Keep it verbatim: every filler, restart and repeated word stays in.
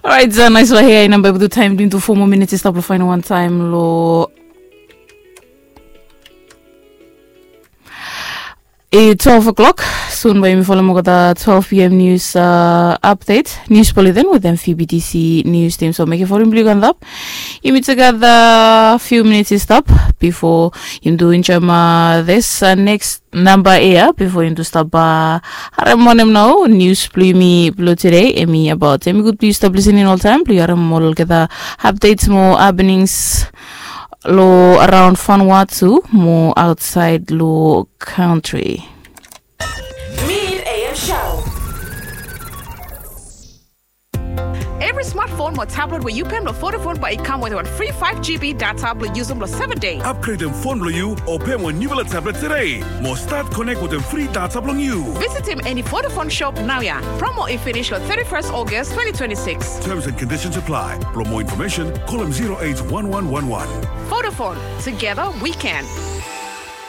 Orait, uh, nais long hea i namba i butu taim during tu four more minutes i stap long fain wan taim lo i twelve o'clock. Sun bai yumi folem olgeta twelve p m news, uh, update, news bulletin with them F B T C news team. So make folem bilong yu antap. Yumi together few minutes i stap before yumi tu enjoy, uh, this, uh, next namba ia bifo yumi tu stap, uh, harem wanem nau nius blong yumi blong tude. Em i abaut em i gud blong yu stap lisening oltaim blong yu harem olgeta updates mo happenings long araun Vanuatu mo autsaid long kantri. Mid A M Show. Evri smartphone mo tablet we yu pem long Vodafone bai i kam wetem wan fri five G B data blong yusum long seven dei. Upgradem fon blong yu o pem wan niufala tablet tude mo stat konek wetem fri data blong yu. Visitim eni Vodafone shop naoia. Promo i finish long thirty-first August twenty twenty-six. Terms and conditions apply. Blong moa infomesen, kolem zero eight one one one one. Vodafone, together we can.